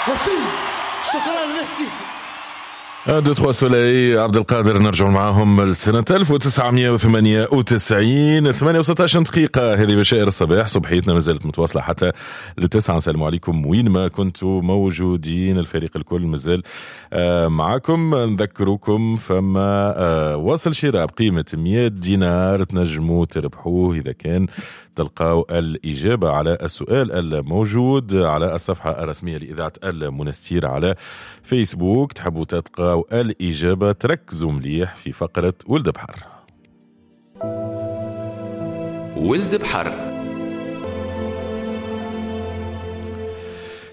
ميرسي، شكرا، ميرسي. 1 2 3 soleil عبد القادر، نرجع معاهم لسنة 1998. 8 و16 دقيقة، هذه بشائر الصباح، صبحيتنا ما زالت متواصلة حتى ل9. السلام عليكم وين ما كنتوا موجودين، الفريق الكل مازال معاكم. نذكركم فما وصل شراء بقيمة 100 دينار تنجموا تربحوه إذا كان تلقاو الإجابة على السؤال الموجود على الصفحة الرسمية لإذاعة المنستير على فيسبوك. تحبوا تلقاو الإجابة تركزوا مليح في فقرة ولد بحر. ولد بحر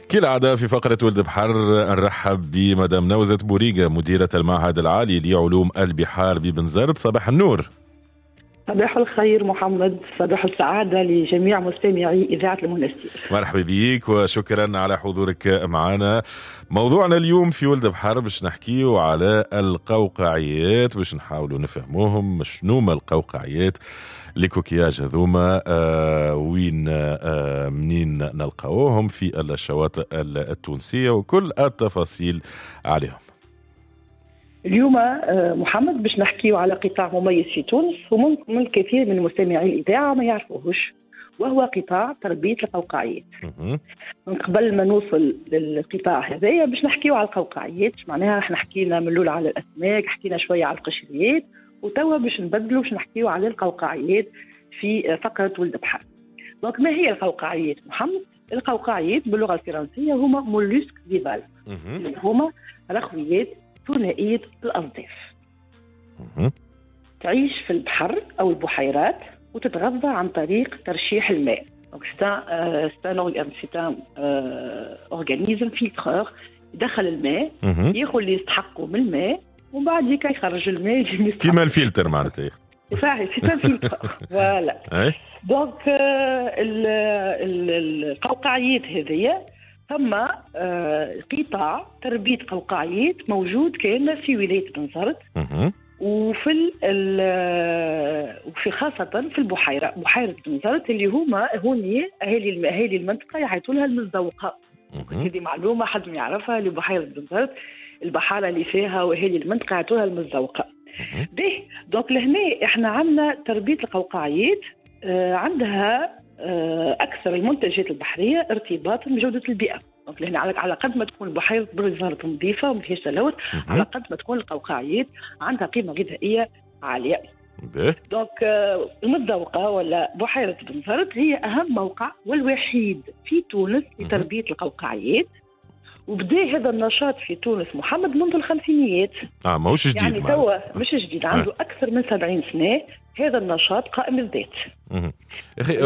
كالعادة في فقرة ولد بحر نرحب بمدام نوزة بوريقة، مديرة المعهد العالي لعلوم البحار ببنزرت. صباح النور. صباح الخير محمد، صباح السعادة لجميع مستمعي إذاعة المنستير. مرحبا بيك وشكرا على حضورك معنا. موضوعنا اليوم في ولد بحر باش نحكيو على القوقعيات، باش نحاولوا نفهموهم شنو ما القوقعيات، les coquillages هذوما وين منين نلقاوهم في الشواطئ التونسية وكل التفاصيل عليهم. اليوم محمد باش نحكيو على قطاع مميز في تونس وممكن الكثير من مستمعي الإذاعة ما يعرفوهش، وهو قطاع تربية القوقعيات. من قبل ما نوصل للقطاع هذايا باش نحكيو على القوقعيات، معناها احنا حكينا من الأول على الأسماك، حكينا شوية على القشريات، وتوا باش نبدلوا باش نحكيو على القوقعيات في فقرة ولد بحر. donc ما هي القوقعيات محمد؟ القوقعيات باللغة الفرنسية هما mollusques bivalves، اللي هما رخويات ثنائية الأصداف. تعيش في البحر أو البحيرات وتتغذى عن طريق ترشيح الماء. donc c'est un organisme filtreur، يدخل الماء، ياخذ اللي يستحقه من الماء ومن بعد هيك يخرج الماء اللي كيما الفلتر معناتها. صحيح، c'est un filtre voilà. donc القوقعيات هذيا ثم قطاع تربية قوقعيات موجود كان في ولاية بنزرت وفي وفي خاصة في البحيرة، بحيرة بنزرت اللي هما هوني أهالي المنطقة يعيطوا لها المزوقة. هذه معلومة حد ما يعرفها، اللي بحيرة بنزرت البحارة اللي فيها وأهالي المنطقة يعيطوا لها المزوقة. به donc لهنا احنا عندنا تربية القوقعيات عندها أكثر المنتجات البحرية ارتباطا بجودة البيئة. donc لهنا على قد ما تكون بحيرة بنزرت نظيفة وما فيهاش تلوث، على قد ما تكون القوقعيات عندها قيمة غذائية عالية. donc المتذوقة ولا بحيرة بنزرت هي أهم موقع والوحيد في تونس لتربية القوقعيات، وبدا هذا النشاط في تونس محمد منذ الخمسينيات. ماهوش جديد يعني توا، مش جديد، عنده أكثر من 70 سنة هذا النشاط قائم الذات. أخي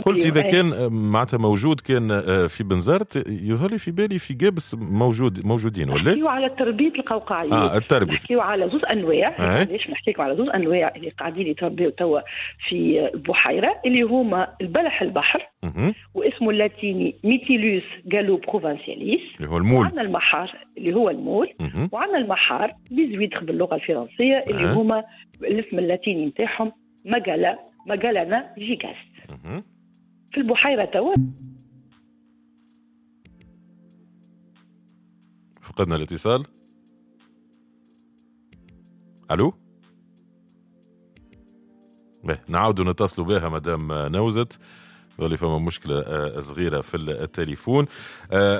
قلت إذا كان معناتها موجود كان في بنزرت، يظهر لي في بالي في قابس موجودين ولا؟ نحكيو على تربية القوقعيات. التربية. نحكيو على زوج أنواع. علاش نحكيو على زوج أنواع اللي قاعدين يتربيو توا في البحيرة، اللي هما البلح البحر واسمه اللاتيني Mytilus galloprovincialis اللي هو ال moules، وعندنا المحار اللي هو ال moule، وعندنا المحار les huîtres باللغة الفرنسية اللي هما الاسم اللاتيني نتاعهم Magallana gigas. في البحيرة توا فقدنا الاتصال. ألو، نعاودوا نتصلوا بها مدام نوزت، اللي فما مشكلة صغيرة في التليفون.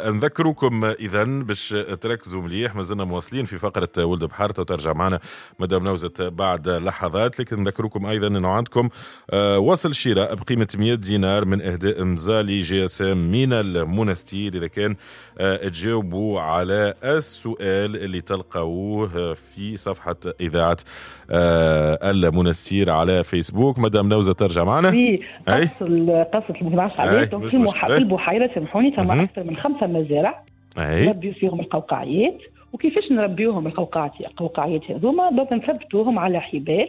نذكركم إذن باش تركزوا مليح، مازلنا مواصلين في فقرة ولد بحر، ترجع معنا مدام نوزت بعد لحظات. لكن نذكركم أيضا أنه عندكم وصل شراء بقيمة 100 دينار من إهداء مزالي GSM من المنستير، إذا كان تجاوبوا على السؤال اللي تلقوه في صفحة إذاعة المنستير على فيسبوك. مدام نوزة ترجع معنا. قصة المعرفش عليه. في البحيرة سامحوني ثم أكثر من 5 مزارع نربيو فيهم القوقعيات. وكيفاش نربيوهم القوقعيات هذوما؟ donc نثبتوهم على حبال،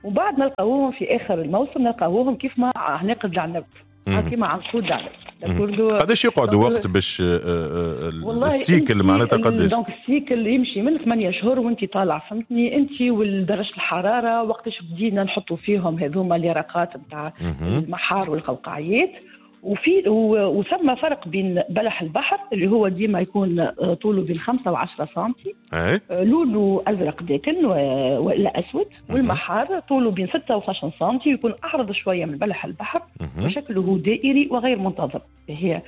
وبعد نلقاوهم في آخر الموسم، نلقاوهم كيف ما عناقد العنب، كيما عنقود العنب. قداش يقعدوا وقت باش ال cycle معناتها قداش؟ donc ال cycle يمشي من 8 شهور وانت طالع، فهمتني انت والدرجة الحرارة وقتاش بدينا نحطوا فيهم هذوما اليرقات نتاع المحار والقوقعيات. وفي وثم فرق بين بلح البحر اللي هو ديما يكون طوله بين 5 و10 سنتي، لونه ازرق داكن ولا اسود، والمحار طوله بين 6 و12 سنتي، يكون اعرض شوية من بلح البحر وشكله دائري وغير منتظم. هي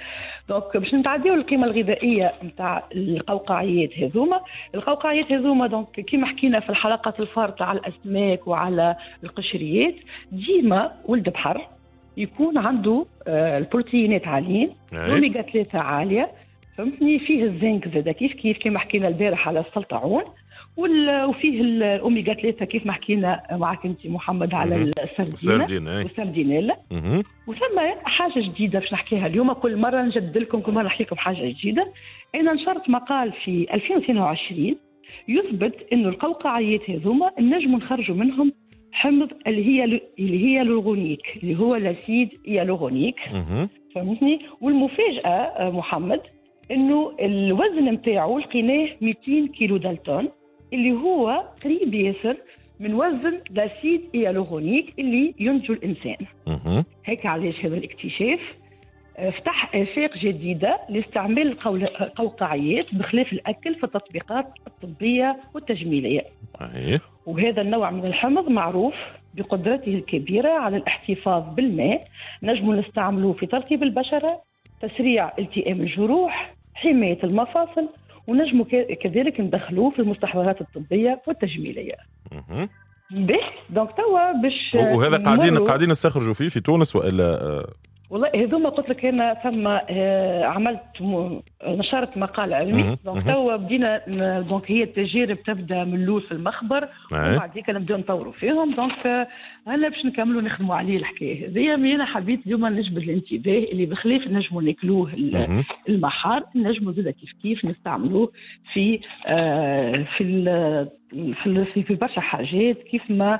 donc باش نتعديو القيمة الغذائية نتاع القوقعيات هذوما. القوقعيات هذوما donc كيما حكينا في الحلقات الفارطه على الاسماك وعلى القشريات، ديما ولد بحر يكون عنده البروتينات عاليين، الاوميغا 3 عالية، فهمتني، فيه الزنك زاد كيف كيف كما حكينا البارح على السلطعون، وفيه الاوميغا 3 كيف ما حكينا معك انت محمد على السردينه والسردينيلا. وثم حاجة جديدة باش نحكيها اليوم، كل مرة نجدد لكم، كل مرة نحكي لكم حاجة جديدة. انا نشرت مقال في 2022 يثبت انه القوقعيات هذوما نجموا نخرجوا منهم حمض اللي هي hyaluronique، اللي هو l'acide hyaluronique، فهمتني. والمفاجاه محمد انه الوزن نتاعو لقيناه 200 كيلو دالتون، اللي هو قريب ياسر من وزن l'acide hyaluronique اللي ينتجه الانسان. هيك علاش هذا الاكتشاف فتح آفاق جديدة لاستعمال القوقعيات بخلاف الأكل في التطبيقات الطبية والتجميلية. وهذا النوع من الحمض معروف بقدرته الكبيرة على الاحتفاظ بالماء، نجم نستعمله في ترطيب البشرة، تسريع التئام الجروح، حماية المفاصل، ونجم كذلك ندخلوه في المستحضرات الطبية والتجميلية. به donc توا باش وهذا قاعدين نستخرجوا فيه في تونس والا؟ والله هذوما قلت لك انا ثم عملت نشرت مقال علمي، donc توا بدينا، donc هي التجارب تبدا من الاول في المخبر وبعد هيك نبداو نطوروا فيهم. donc هلا باش نكملوا نخدموا عليه الحكاية هذيا. انا حبيت اليوم نجبد الانتباه اللي بخلاف نجموا ناكلوه المحار، نجموا زاد كيف كيف نستعملوه في في في في برشا حاجات كيف ما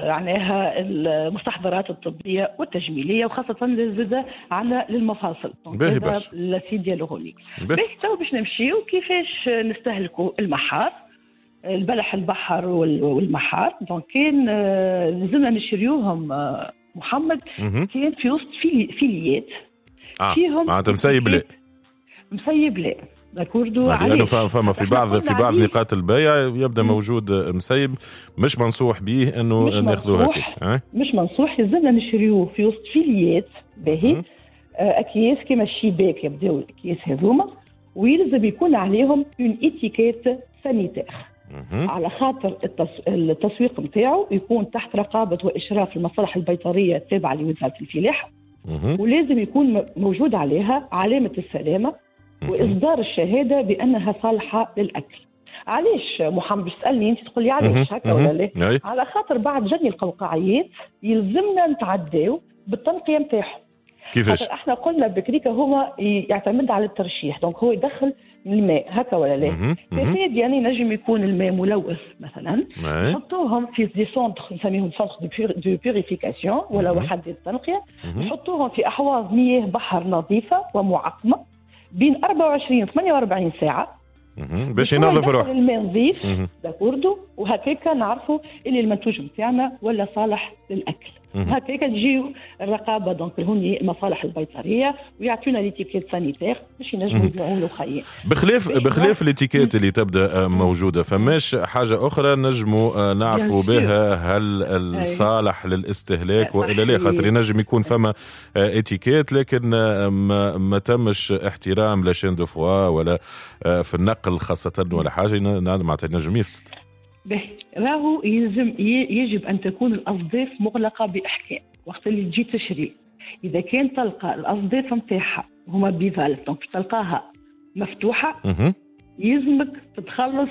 معناها المستحضرات الطبية والتجميليه، وخاصة زاد على للمفاصل. باهي برشا l'acide hyaluronique. باهي تو باش نمشيو كيفاش نستهلكوا المحار، البلح البحر والمحار. donc كان لازمنا نشريوهم محمد، كان في وسط فيليات فيهم معناتها مسيب لا مسيب لا d'accord. لأنه فما في بعض نقاط البيع يبدا موجود مسيب، مش منصوح به انه ناخذوه هكاك، مش منصوح، يلزمنا نشريوه في وسط فيليات باهي، اكياس كيما الشباك يبداو الاكياس هذوما، ويلزم يكون عليهم une étiquette sanitaire على خاطر التسويق نتاعو يكون تحت رقابه واشراف المصالح البيطريه التابعة لوزارة الفلاحة، ولازم يكون موجود عليها علامة السلامة وإصدار الشهادة بأنها صالحة للأكل. علاش محمد باش تسألني أنت تقول لي علاش هكا ولا لا؟ على خاطر بعد جني القوقعيات يلزمنا نتعداو بالتنقية نتاعهم. كيفاش؟ احنا قلنا بكريكا هو يعتمد على الترشيح، donc هو يدخل الماء هكا ولا لا؟ تفاد يعني نجم يكون الماء ملوث مثلا، نحطوهم في des centres نسميهم centres de purification ولا وحدات التنقية، نحطوهم في أحواض مياه بحر نظيفة ومعقمة بين 24 و 48 ساعة باش ينظف روحه الماء نظيف، d'accord، وهكاك نعرفوا اللي المنتوج نتاعنا ولا صالح للاكل. هكاك تجيو الرقابة donc هوني المصالح البيطريه ويعطونا l'étiquette sanitaire باش ينجموا يبيعوا له خير. بخلاف l'étiquette اللي تبدا موجودة، فماش حاجة اخرى نجموا نعرفوا بها هل الصالح للاستهلاك والا لا؟ خاطر ينجم يكون فما اتيكيت لكن ما تمش احترام la chaîne de froid ولا في النقل خاصة ولا حاجة، معناتها نجم يفسد. به راهو يلزم يجب أن تكون الأصداف مغلقة بإحكام وقت اللي تجي تشري. إذا كان تلقى الأصداف نتاعها هما bivalves، donc تلقاها مفتوحة يلزمك تتخلص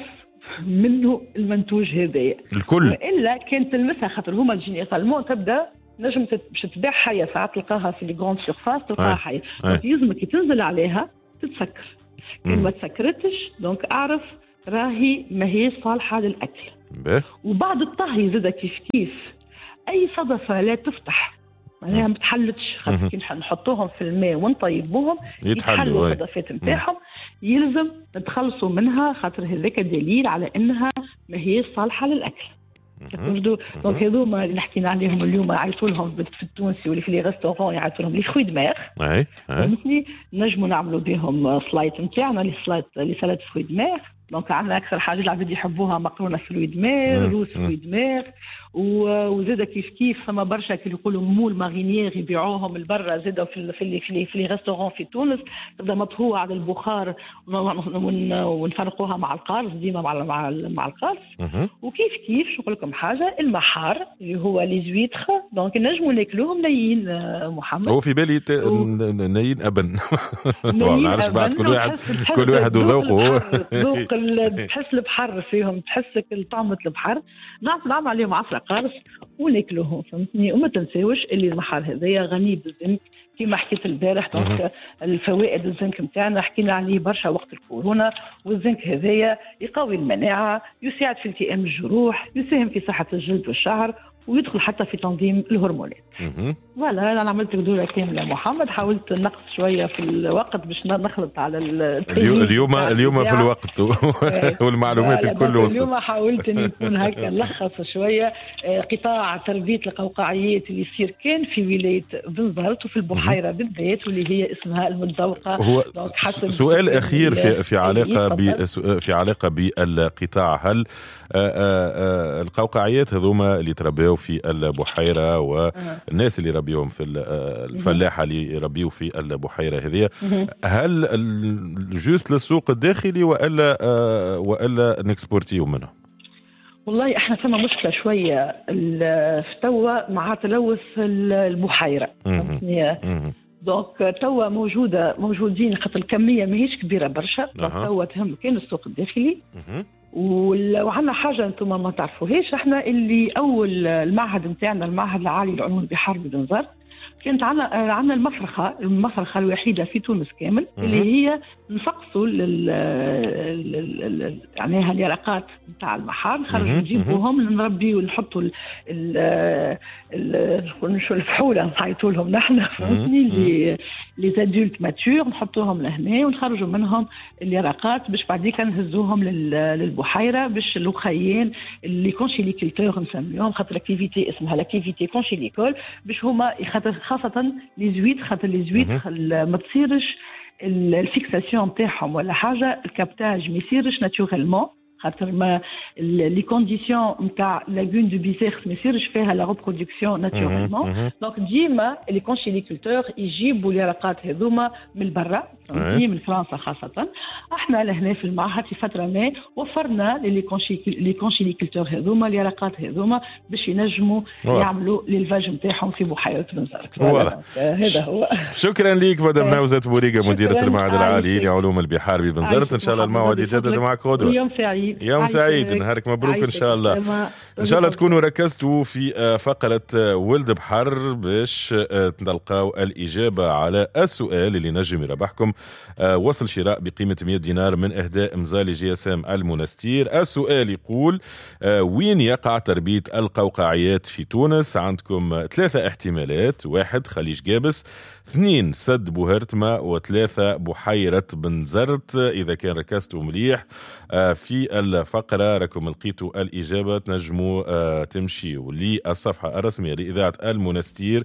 منه المنتوج هذايا الكل، وإلا كان تلمسها خاطر هما généralement تبدا نجم باش تبيع حية، ساعات تلقاها في les grandes surfaces تلقاها حية، donc يلزمك تنزل عليها تتسكر. كان ما تسكرتش donc أعرف راهي ما هي صالحة للأكل. وبعد الطهي زاد كيف كيف أي صدفة لا تفتح، معناها ما تحلتش، خاطر كي نحطوهم في الماء ونطيبوهم يتحلوا الصدفات نتاعهم، يلزم نتخلصوا منها خاطر هذاك دليل على أنها ما هي صالحة للأكل. donc هذوما اللي حكينا عليهم اليوم يعيطوا لهم في التونسي واللي في les restaurants يعيطوا لهم les fruits de mer. فهمتني؟ نجموا نعملوا بهم سلايط نتاعنا، les salades fruits de mer. donc عندنا اكثر حاجة العباد يحبوها مقرونة fruits de mer، روز fruits de mer، وزاد كيف كيف فما برشا كي يقولوا moules marinières يبيعوهم البرا زاد في les restaurants في تونس، تبدا مطهوه على البخار ونفرقوها مع القارص، ديما مع القارص. وكيف كيف شو نقول لكم حاجة، المحار اللي هو les huîtres، donc نجموا ناكلوهم نيين محمد. هو في بالي نيين ابن ما نعرفش بعد كل واحد وذوقه. ذوق تحس البحر فيهم، تحس طعمة البحر. نعمل عليهم عصرة قارص وناكلوهم، فهمتني؟ وما تنساوش اللي المحار هذايا غني بالزنك كما حكيت البارح. donc الفوائد الزنك نتاعنا حكينا عليه برشا وقت الكورونا. والزنك هذايا يقوي المناعة، يساعد في التئام الجروح، يساهم في صحة الجلد والشعر، ويدخل حتى في تنظيم الهرمونات. voilà انا عملت دوره كاملة محمد، حاولت نقص شوية في الوقت باش نخلط على اليوم في الوقت والمعلومات الكل وصلت. اليوم حاولت اني نكون هكا نلخص شوية قطاع تربيه القوقعيات اللي يصير كان في ولاية بنزرت وفي البحيرة بالذات واللي هي اسمها المتذوقه. هو سؤال اخير في علاقة في علاقة بالقطاع، هل القوقعيات هذوما اللي تربيوا في البحيرة والناس اللي ربيهم في الفلاحة اللي يربيوا في البحيرة هذه، هل juste للسوق الداخلي والا نكسبورتيو منه؟ والله احنا ثم مشكلة شوية في توا مع تلوث البحيرة. donc توا موجودين خاطر الكمية ماهيش كبيرة برشا. توا تهم كان السوق الداخلي. وعندنا حاجة انتم ما تعرفوهاش، احنا اللي اول المعهد نتاعنا المعهد العالي للعلوم البحار ببنزرت كانت عندنا المفرخه الوحيدة في تونس كامل اللي هي نفقصوا يعني اليرقات نتاع المحار، نخرجوا نجيبوهم نربي ونحطوا الفحوله نعيطوا لهم نحن، فهمتني؟ les adultes matures نحطوهم لهنا ونخرجوا منهم اليرقات باش بعديك نهزوهم للبحيره باش الاخيين les conchyliculteurs نسميهم، خاطر l'activité اسمها l'activité conchylicole، باش هما خاصة les huîtres، خاطر les huîtres ما تصيرش ال fixation نتاعهم ولا حاجة، ال captage ما يصيرش naturellement، خاطر ما les conditions نتاع lagune de Bizerte ما يصيرش فيها la reproduction naturellement. donc ديما les conchyliculteurs يجيبوا اليرقات هذوما من برا، من فرنسا خاصة. احنا لهنا في المعهد في فترة ما وفرنا les conchyliculteurs هذوما اليرقات هذوما باش ينجموا يعملوا l'élevage نتاعهم في بحيرة بنزرت. هذا هو. شكرا لك مدام نوزة بوريقة، مديرة المعهد العالي لعلوم البحار ببنزرت. ان شاء الله الموعد يتجدد معك غدوة. يوم سعيد. يوم سعيد، نهارك مبروك ان شاء الله. ان شاء الله تكونوا ركزتوا في فقرة ولد بحر باش تلقاو الإجابة على السؤال اللي نجم يربحكم وصل شراء بقيمة 100 دينار من إهداء مزالي GSM المنستير. السؤال يقول وين يقع تربية القوقعيات في تونس؟ عندكم 3 احتمالات: 1 خليج قابس، 2 سد بوهرتما، و3 بحيرة بنزرت. إذا كان ركزتوا مليح في الفقرة راكم لقيتوا الإجابة. تنجموا تمشيوا للصفحة الرسمية لإذاعة المنستير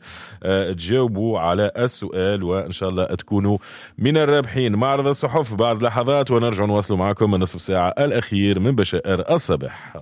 تجاوبوا على السؤال وإن شاء الله تكونوا من الرابحين. معرض الصحف بعد لحظات ونرجع نواصل معكم النصف ساعة الأخير من بشائر الصباح.